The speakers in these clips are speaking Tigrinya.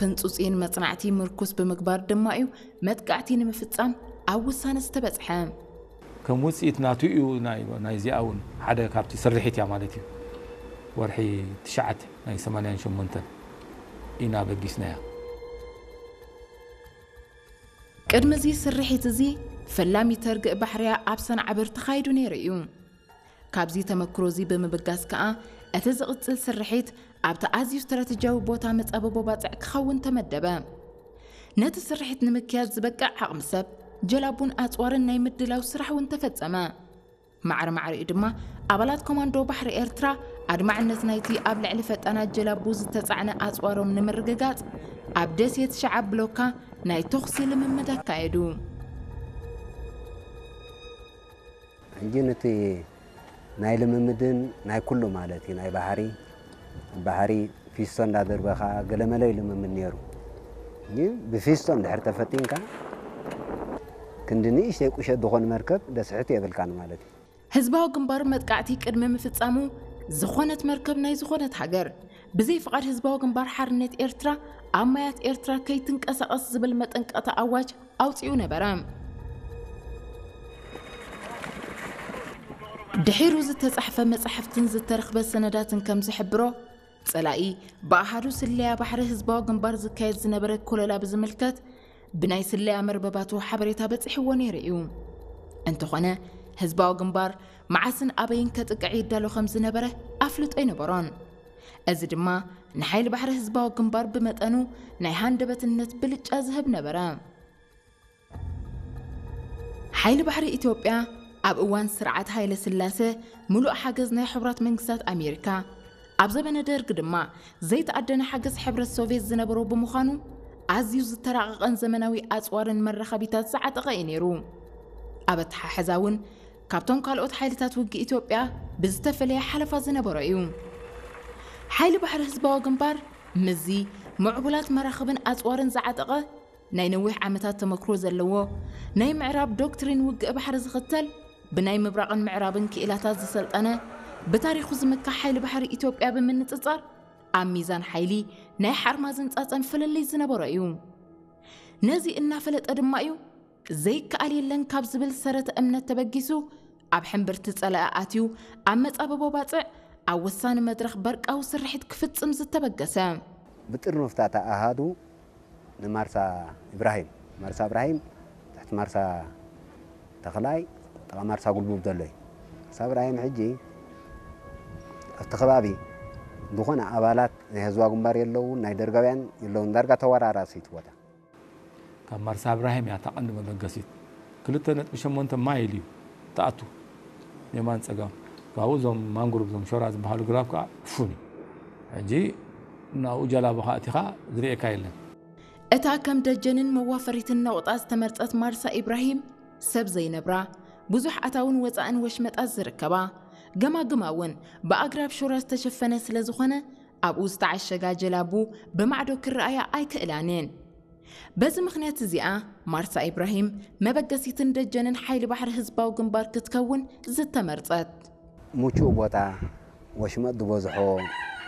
ህንጹጽን መጽናዕቲ ምርኩስ ብምግባር ድማ እዩ መጥቃዕቲ ንምፍጻም ኣብ ውሳነ ዝተበጽሐ። ከም ውፅኢት ናቱ እዩ። ናይዚኣ እውን ሓደ ካብቲ ስርሒት እያ ማለት እዩ። ወርሒ ትሽዓተ ናይ ሰማንያን ሸሞንተን ኢና በጊስናያ። ቅድሚ እዚ ስርሒት እዚ ፈላሚት ርግእ ባሕርያ ኣብ ሰንዓብር ተኻይዱ ነይሩ እዩ። ካብዚ ተመክሮ እዚ ብምብጋስ ከኣ እቲ ዝቕጽል ስርሒት ኣብቲ ኣዝዩ ስትራተጂያዊ ቦታ መጻበቦ ባጽዕ ክኸውን ተመደበ። ነቲ ስርሒት ንምክያድ ዝበቅዕ ዓቕሚ ሰብ፣ ጀላቡን ኣጽዋርን ናይ ምድላው ስራሕ እውን ተፈጸመ። ማዕረ ማዕሪኡ ድማ ኣባላት ኮማንዶ ባሕሪ ኤርትራ ኣድማዕነት ናይቲ ኣብ ልዕሊ ፈጣናት ጀላቡ ዝተጻዕነ ኣጽዋሮም ንምርግጋጽ ኣብ ደሴት ሸዓብ ብሎካ ናይ ተኹሲ ልምምድ ኣካየዱ። ሕጂ ነቲ ናይ ልምምድን ናይ ኩሉ ማለት እዩ ናይ ባሕሪ ባሕሪ ፊስቶ እንዳደርበኻ ገለመለ እዩ ልምምድ ነይሩ። ግን ብፊስቶ እንድሕር ተፈቲንካ ክንዲ ንእሽተይ ቁሸት ዝኾን መርከብ ደስሕት የብልካን ማለት እዩ። ህዝባዊ ግንባር መጥቃዕቲ ቅድሚ ምፍጻሙ ዝኾነት መርከብ ናይ ዝኾነት ሃገር ብዘይ ፍቓድ ህዝባዊ ግንባር ሓርነት ኤርትራ ኣብ ማያት ኤርትራ ከይትንቀሳቐስ ዝብል መጠንቀቕታ ኣዋጅ ኣውጺኡ ነበረ። ድሒሩ ዝተጻሕፈ መጻሕፍትን ዝተረኽበ ሰነዳትን ከም ዝሕብሮ፣ ጸላኢ ብኣሃዱ ስለያ ባሕሪ ህዝባዊ ግንባር ዝካየድ ዝነበረ ኮለላ ብዝምልከት ብናይ ስለያ መርበባቱ ሓበሬታ በጺሕዎ ነይሩ እዩ። እንተኾነ ህዝባዊ ግንባር መዓስን ኣበይን ከጥቅዕ ይዳሎ ከም ዝነበረ ኣፍልጦ ኣይነበሮን። እዚ ድማ ንሓይሊ ባሕሪ ህዝባዊ ግንባር ብመጠኑ ናይ ሃንደበትነት ብልጫ ዝህብ ነበረ። ሓይሊ ባሕሪ ኢትዮጵያ ኣብ እዋን ስርዓት ሃይለ ስላሰ ምሉእ ሓገዝ ናይ ሕቡራት መንግስታት ኣሜሪካ፣ ኣብ ዘበነ ደርግ ድማ ዘይተኣደነ ሓገዝ ሕብረት ሶቭየት ዝነበሮ ብምዃኑ ኣዝዩ ዝተራቐቐን ዘመናዊ ኣጽዋርን መራኸቢታት ዝዓጠቐ እዩ ነይሩ። ኣብ ኣተሓሕዛ እውን ካብቶም ካልኦት ሓይልታት ውግእ ኢትዮጵያ ብዝተፈለየ ሓለፋ ዝነበሮ እዩ። ሓይሊ ባሕሪ ህዝባዊ ግንባር ምስዚ ምዕቡላት መራኽብን ኣጽዋርን ዝዓጠቐ ናይ ነዊሕ ዓመታት ተመክሮ ዘለዎ ናይ ምዕራብ ዶክትሪን ውግእ ባሕሪ ዝኽተል ብናይ ምብራቕን ምዕራብን ክኢላታት ዝሰልጠነ ብታሪኹ ዝምካሕ ሓይሊ ባሕሪ ኢትዮጵያ ብምንጽጻር ኣብ ሚዛን ሓይሊ ናይ ሓርማዝን ጻጸን ፍልልይ ዝነበሮ እዩ። ነዚ እናፈለጠ ድማ እዩ ዘይከኣል የለን ካብ ዝብል ሰረተ እምነት ተበጊሱ ኣብ ሕምብርቲ ጸላኢ ኣትዩ ኣብ መጻብቦ ባጽዕ ኣብ ወሳኒ መድረኽ በርቃዊ ስርሒት ክፍጽም ዝተበገሰ። ብጥርኑፍታታ ኣሃዱ ንማርሳ ኢብራሂም ማርሳ ኢብራሂም ትሕቲ ማርሳ ተኽላይ ጥቓ ማርሳ ጉልቡብ ዘሎ እዩ። ማርሳ ኢብራሂም ሕጂ ኣብቲ ከባቢ ዝኾነ ኣባላት ናይ ህዝባዊ ግንባር የለውን፣ ናይ ደርጋውያን የለውን። ዳርጋ ተወራራሲ እቲ ቦታ። ካብ ማርሳ እብራሂም እያ እታ ቀንዲ መበገሲት። ክልተ ነጥቢ ሸሞንተ ማይል እዩ ትኣቱ የማን ጸጋም። ካብኡ እዞም ማንግሩቭ እዞም ሾራ ዝበሃሉ ግራብ ከዓ ፍፉን እዩ። ሕጂ ናብኡ ጀላቡ ከዓ እቲኻ ዝርእየካ የለን። እታ ከም ደጀንን መዋፈሪትን ነቑጣ ዝተመርጸት ማርሳ ኢብራሂም ሰብ ዘይነብራ፣ ብዙሕ ኣታውን ወጻእን ወሽመጣት ዝርከባ፣ ገማግማ እውን ብኣግራብ ሾራ ዝተሸፈነ ስለ ዝኾነ ኣብኡ ዝተዓሸጋ ጀላቡ ብማዕዶ ክረኣያ ኣይክእላንን። በዚ ምኽንያት እዚኣ ማርሳ ኢብራሂም መበገሲትን ደጀንን ሓይሊ ባሕሪ ህዝባዊ ግንባር ክትከውን ዝተመርጸት። ምቹእ ቦታ፣ ወሽመጥ ዝበዝሖ፣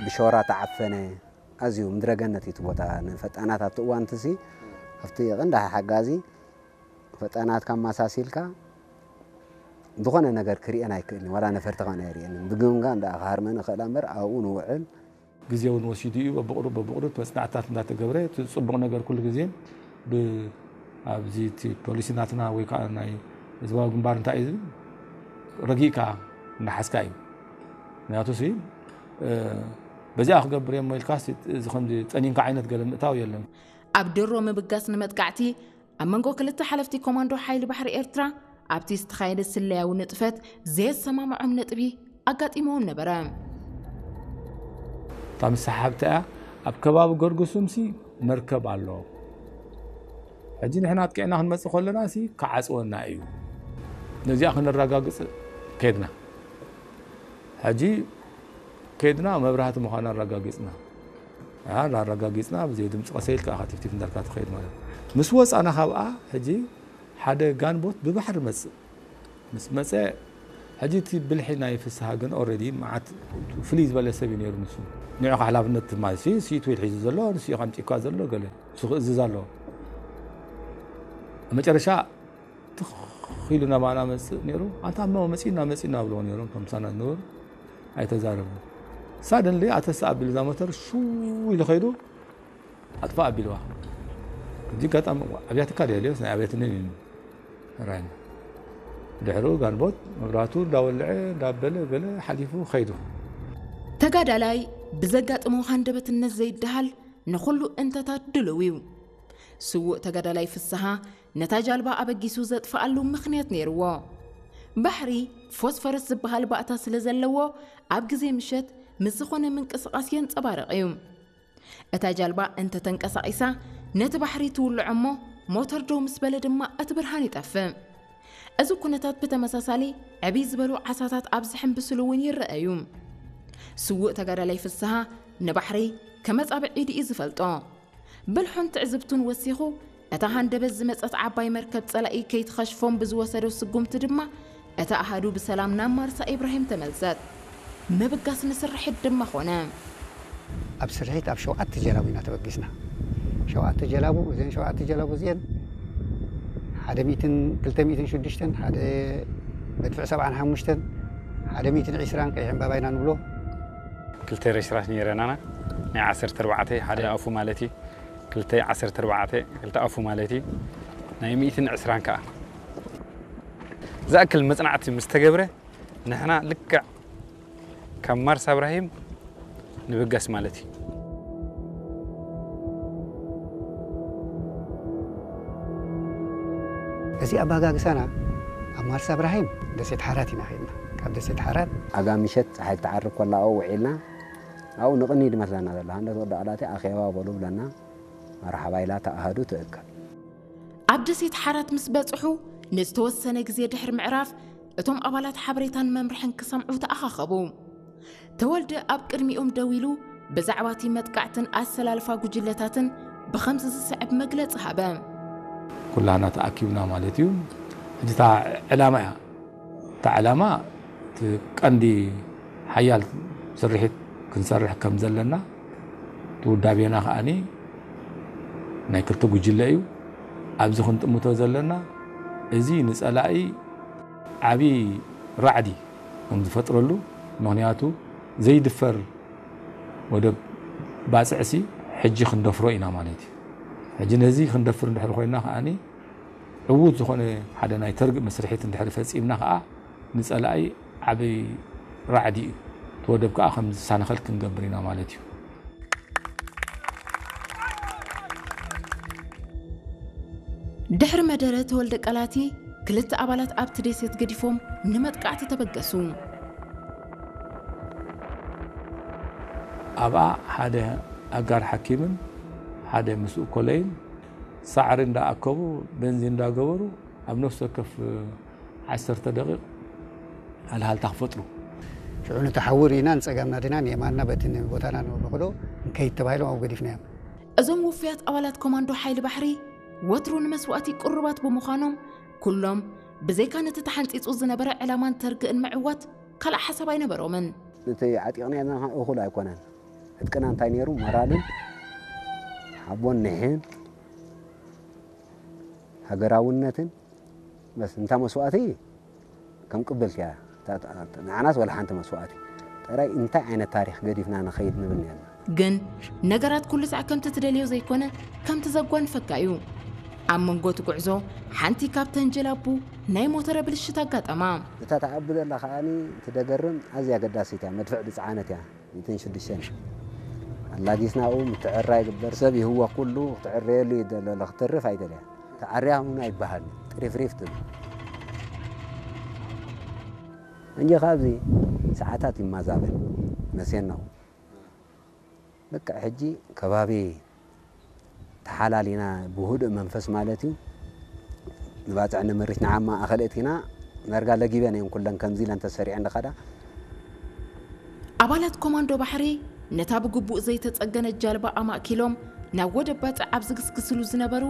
ብሾራ ተዓፈነ፣ ኣዝዩ ምድረገነት እዩ እቲ ቦታ። ንፈጣናት ኣብቲ እዋን እቲ ሲ ኣብቲ ቀንዲ ሓጋዚ ፈጣናት ካብ ማሳሲልካ ዝኾነ ነገር ክርእየን ኣይክእልን፣ ዋላ ነፈርቲ ከነ ኣይርእየንን። ብግምጋም ደኣ ክሃርመን እኽእላ እምበር ኣብኡ ንውዕል። ግዜ እውን ወሲዱ እዩ። በብቕሩብ በብቕሩብ መጽናዕትታት እንዳተገብረ እቲ ጽቡቕ ነገር ኩሉ ግዜ ብ ኣብዚ እቲ ፖሊሲ ናትና ወይ ከዓ ናይ ህዝባዊ ግንባር እንታይ እዩ ዝብል ረጊእካ እንዳሓዝካ እዩ። ምክንያቱ ሲ በዚኣ ክገብር እየ እሞ ኢልካ እዚ ከምዚ ጸኒንካ ዓይነት ገለ ምእታው የለን። ኣብ ድሮ ምብጋስ ንመጥቃዕቲ ኣብ መንጎ ክልተ ሓለፍቲ ኮማንዶ ሓይሊ ባሕሪ ኤርትራ ኣብቲ ዝተኻየደ ስለያዊ ንጥፈት ዘየሰማምዖም ነጥቢ ኣጋጢምዎም ነበረ። እታ ምስሓብቲ እያ ኣብ ከባቢ ገርግሱምሲ መርከብ ኣሎ። ሕጂ ንሕና ኣጥቂዕና ክንመጽእ ከለና ሲ ክዓጽወና እዩ። ነዚኣ ክነረጋግጽ ከድና። ሕጂ ከድና መብራህቲ ምዃና ኣረጋጊጽና። ኣረጋጊጽና ብዘይ ድምፂ ቀሰ ኢልካ ኢኻ ቲፍቲፍ እንዳልካ ትኸይድ ማለት እዩ። ምስ ወፃና ካብኣ ሕጂ ሓደ ጋንቦት ብባሕሪ መፅእ። ምስ መፀ ሕጂ እቲ ብልሒ ናይ ፍስሃ ግን ኦልሬዲ መዓት ፍልይ ዝበለ ሰብ እዩ ነይሩ። ንሱ ንዑ ሓላፍነት ትማል ሲ ሲኢቱ ኢሉ ሒዙ ዘሎ፣ ንሱ እዩ ከምፂእኳ ዘሎ፣ ገለ ንሱ ክእዝዝ ኣለዎ። መጨረሻ ትኽ ኢሉ ናባና መፅእ ነይሩ። ኣንታ እሞ መፂና፣ መፂና ብልዎ ነይሮም፣ እቶም ምሳና ዝነበሩ ኣይተዛረቡ። ሳደንሊ ኣተሳ ኣቢሉ እዛ ሞተር ሽው ኢሉ ከይዱ ኣጥፋ ኣቢልዋ። እዚ ኣጋጣሚ ኣብያትካ ድየልዮስ ናይ ኣብያትንን እዩ ራይና። ድሕሩ ጋንቦት መብራቱ እንዳወልዐ እንዳበለ ገለ ሓሊፉ ከይዱ። ተጋዳላይ ብዘጋጥሞ ሃንደበትነት ዘይደሃል ንኹሉ እንተታት ድልው እዩ። ስዉእ ተጋዳላይ ፍስሃ ነታ ጃልባ ኣበጊሱ ዘጥፍኣሉ ምኽንያት ነይርዎ። ባሕሪ ፎስፈረስ ዝበሃል ባእታ ስለ ዘለዎ ኣብ ግዜ ምሸት ምስ ዝኾነ ምንቅስቓስ የንጸባርቕ እዩ። እታ ጃልባ እንተተንቀሳቒሳ ነቲ ባሕሪ ትውልዖ እሞ ሞተር ደው ምስ በለ ድማ እቲ ብርሃን ይጠፍእ። እዚ ኩነታት ብተመሳሳሊ ዕብይ ዝበሉ ዓሳታት ኣብ ዝሕንብስሉ እውን ይረኣዩ። ስዉእ ተጋዳላይ ፍስሃ ንባሕሪ ከመጻብዕ ኢዱ እዩ ዝፈልጦ። ብልሑን ትዕዝብቱን ወሲኹ እታ ሃንደበት ዝመጸት ዓባይ መርከብ ጸላኢ ከይትኸሽፎም ብዝወሰዶ ስጉምቲ ድማ እታ ኣሃዱ ብሰላም ናብ ማርሳ ኢብራሂም ተመልሰት። ምብጋስ ንስርሒት ድማ ኾነ። ኣብ ስርሒት ኣብ ሸውዓተ ጀላቡ ኢና ተበጊስና። ሸውዓተ ጀላቡ፣ እዘን ሸውዓተ ጀላቡ እዚአን ሓደ ሚእትን ክልተ ሚእትን ሽዱሽተን፣ ሓደ መድፍዕ ሰብዓን ሓሙሽተን፣ ሓደ ሚእትን ዕስራን ቀይሕ ዕምባባ ኢና ንብሎ። ክልተ ሬስራት ነይረናና፣ ናይ ዓሰርተ ኣርባዕተ ሓደ ኣፉ ማለት እዩ፣ ክልተ ዓሰርተ ኣርባዕተ ክልተ ኣፉ ማለት እዩ፣ ናይ ሚእትን ዕስራን ከዓ። ዝኣክል መጽናዕቲ ምስ ተገብረ ንሕና ልክዕ ካብ ማርሳ እብራሂም ንብገስ ማለት እዩ። እዚ ኣባጋግሳና ኣብ ማርሳ እብራሂም ደሴት ሓራት ኢና ኸድና። ካብ ደሴት ሓራት ኣጋ ምሸት ፀሓይ ክትዓርብ ከላ ኣብኡ ውዒልና፣ ኣብኡ ንቕኒ ድመስለና ዘሎ ሃንደት ወዲ ኣላቲ ኣኼባ በሉ ብለና። መርሓባ ኢላ ተኣሃዱ ትእከብ። ኣብ ደሴት ሓራት ምስ በጽሑ ንዝተወሰነ ግዜ ድሕሪ ምዕራፍ እቶም ኣባላት ሓበሬታን መምርሕን ክሰምዑ ተኣኻኸቡ። ተወልደ ኣብ ቅድሚኦም ደው ኢሉ ብዛዕባ እቲ መጥቃዕትን ኣሰላልፋ ጉጅለታትን ብኸምዚ ዝስዕብ መግለጺ ሃበ። ኩላና ተኣኪብና ማለት እዩ። ሕጂ እታ ዕላማ እያ። እታ ዕላማ እቲ ቀንዲ ሓያል ስርሒት ክንሰርሕ ከም ዘለና እቲ ውዳቤና ከኣኒ ናይ ክልተ ጉጅለ እዩ። ኣብዚ ክንጥምቶ ዘለና እዚ ንጸላኢ ዓቢ ራዕዲ ከም ዝፈጥረሉ፣ ምኽንያቱ ዘይድፈር ወደብ ባጽዕሲ ሕጂ ክንደፍሮ ኢና ማለት እዩ። ሕጂ ነዚ ክንደፍር እንድሕር ኮይና ከኣኒ ዕዉት ዝኾነ ሓደ ናይ ተርግእ መስርሒት እንድሕር ፈጺምና ከኣ ንጸላኢ ዓቢ ራዕዲ እዩ። እቲ ወደብ ከኣ ከም ዝሳነኸል ክንገብር ኢና ማለት እዩ። ድሕሪ መደረ ተወልደ ቀላቲ ክልተ ኣባላት ኣብቲ ደሴት ገዲፎም ንመጥቃዕቲ ተበገሱ። ኣብኣ ሓደ ኣጋር ሓኪምን ሓደ ምስኡ ኮለይን ሳዕሪ እንዳኣከቡ ቤንዚን እንዳገበሩ ኣብ ነፍሲ ወከፍ ዓሰርተ ደቂቕ ሃልሃልታ ክፈጥሩ። ሽዑ ነቲ ሓዊ ርኢና ንጸጋምና ዲና ንየማንና በቲ ንቦታና ንብሎ ከሎ ንከይድ ተባሂሎም ኣብኡ ገዲፍናዮም። እዞም ውፉያት ኣባላት ኮማንዶ ሓይሊ ባሕሪ ወትሩ ንመስዋእቲ ቅሩባት ብምዃኖም ኩሎም ብዘይካ ነቲ ተሓንጺጹ ዝነበረ ዕላማን ተርግእን ምዕዋት ካልእ ሓሳብ ኣይነበሮምን። ነቲ ዓጢቕናዮ ዘለና እኹል ኣይኮነን። ዕጥቅና እንታይ ነይሩ? ሞራልን ሓቦን ኒሕን ሃገራውነትን በስ እንታ መስዋእቲ ከም ቅብልቲ እያ። ንዓናስ ወላ ሓንቲ መስዋእቲ ጥራይ እንታይ ዓይነት ታሪኽ ገዲፍና ንኸይድ ንብል ነርና። ግን ነገራት ኩሉ ሳዕ ከምቲ ትደልዮ ዘይኮነ ከምቲ ዘጓንፈካ እዩ። ኣብ መንጎ እቲ ጉዕዞ ሓንቲ ካብ ተንጀላቡ ናይ ሞተረ ብልሽት ኣጋጠማ። እታ ትዓቢ ዘላ ከኣ እቲ ደገርም ኣዝያ ኣገዳሲት እያ፣ መድፍዕ ዝጸዓነት እያ። ሚእትን ሽዱሽተን ኣላጊስናኡ ምትዕራ ይግበር። ሰብ ይህወኽ ኩሉ ክትዕረየሉ እዩ ዘሎ፣ ክትርፍ ኣይደልያ። ተዓርያ እውን ኣይበሃል፣ ጥሪፍሪፍ ትብል። እንጂ ካብዚ ሰዓታት ይማዛበል መሴናው። በቃ ሕጂ ከባቢ ተሓላሊና ብህዱእ መንፈስ ማለት እዩ ንባፅዕ ንምርሽ ንዓማ ኣኸልእት ኢና ነርጋ ለጊበን እየን ኩለን ከምዚ ኢለን ተሰሪዐን ደኻዳ ኣባላት ኮማንዶ ባሕሪ ነታ ብግቡእ ዘይተጸገነት ጃልባ ኣማእኪሎም ናብ ወደብ ባጽዕ ኣብ ዝግስግስሉ ዝነበሩ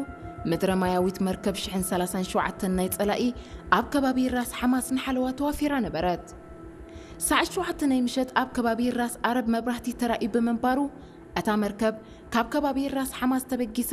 ምድረ ማያዊት መርከብ ሽሕን ሰላሳን ሸውዓተን ናይ ጸላኢ ኣብ ከባቢ ራስ ሓማስ ንሓለዋ ተዋፊራ ነበረት። ሰዓት ሸውዓተ ናይ ምሸት ኣብ ከባቢ ራስ ዓረብ መብራህቲ ተራእዩ ብምንባሩ፣ እታ መርከብ ካብ ከባቢ ራስ ሓማስ ተበጊሳ